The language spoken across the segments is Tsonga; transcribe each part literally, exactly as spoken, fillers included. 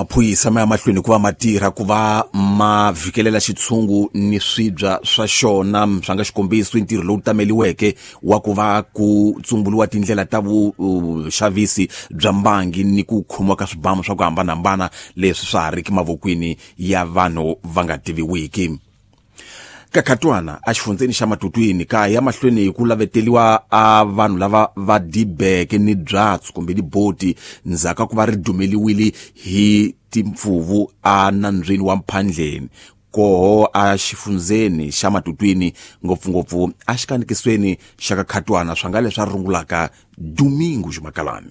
Maphorisa ma ya mahlweni ku va ma tirha ku va ma vhikelela xitshungu ni swibya swa xona swa nga xikombiso i ntirho lowu tameliweke wa ku va ku tsumbuluwa tindlela ta vuxavisi bya mbangi ni ku khomiwa ka swibamu swa ku hambanahambana leswi swa ha riki mavokweni ya vanhu va nga tiviwiki. Kakatwana a xifundzeni xa Matutwini kaya mahlweni ku laveteliwa a vanhu lava va dibeke ni byatsu kumbe ni boti ndzhaku ku va ri dumeliwile hi timpfuvu a nambyeni wa Mphandleni koho a xifundzeni xa Matutwini ngopfungopfu a xikanikisweni xa Kakatwana swa nga leswi a rungulaka Domingo Jumakalani.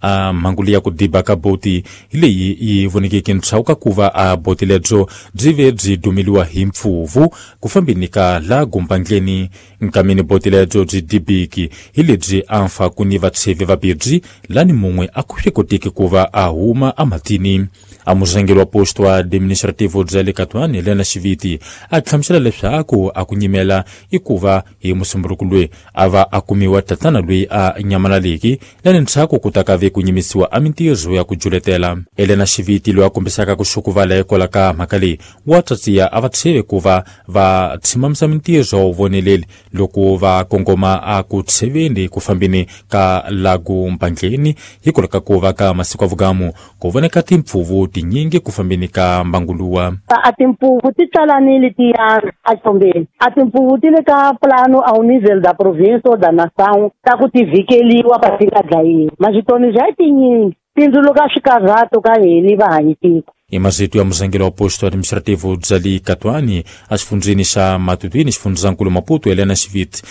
A mhangu leyi ya ku diba ka boti hi leyi yi vonekeke ntshawu ka ku va a boti lebyo byi ve byi dumeliwa hi mpfuvu ku fambeni ka la gumpandleni nkameni boti lebyo byi dibiki hi lebyi a mfa ku ni vatshevi vabirhi lani mun'we a ku swi koteki ku va a huma ematini. A murhangeri wa posto administrativo bya le Katwani Helena Xiviti a hlamusela leswaku a ku nyimela i ku va hi musumburuku loyi a va a kumiwa tatana loyi a nyamalaleki lani ndzhaku ku ta ka ve ku nyimisiwa a mintirho ya ku juletela. Helena Xiviti loyi a kombisaka ku xukuvala hikwalaho ka mhaka leyi wa tsatsiya a va tsheve ku va va tshimamisa mintirho wa vuvoneleli loko va kongoma a ku tsheveni ku fambeni ka lagu Mpandleni hikwalaho ka ku va ka masiku ya vugamu ku voneka timpfuvu tinyingi ku fambeni ka mbanguluwa. A timpfuvu ti tsalanile tiyana a xombeni a timpfuvu ti le ka plano ao nível da província ou da nação ta ku ti vhikeliwa pa ti nga dlayiwi maswitoni bya tinyingi tindzuluka swikarhato ka hini vahanyi tiko. I mazito ya murhangeri wa posto administrativo bya le Katwani a xifundzeni xa Matutwini xifundzankulu Maputo Helena Xiviti.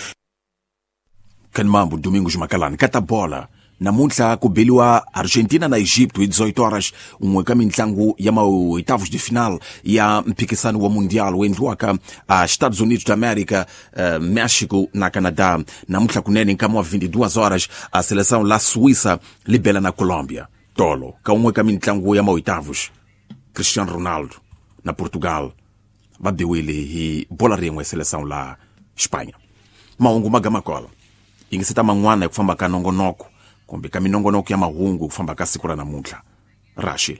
Kanmambo Domingo Jumakalani kata bola namuntlha ku beliwa Argentina na Egypto hi dezoito horas un'we ka mintlangu ya maoitavos de final ya mphikisano wa mundial wu endliwaka a Estados Unidos da América, uh, México na Canadá. Namuntlha kunene nkama wa vinte e duas horas a seleção la Suíça libela na Colômbia. Tolo ka un'we ka mintlangu ya maoitavos Cristiano Ronaldo na Portugal va biwile hi bola rin'we seleção la Espanha. Mahungu magamakola yingiseta man'wana hi ku famba ka nongonoko kumbe ka minongonoko ya mahungu ku famba ka siku ra namuntlha. Rashid.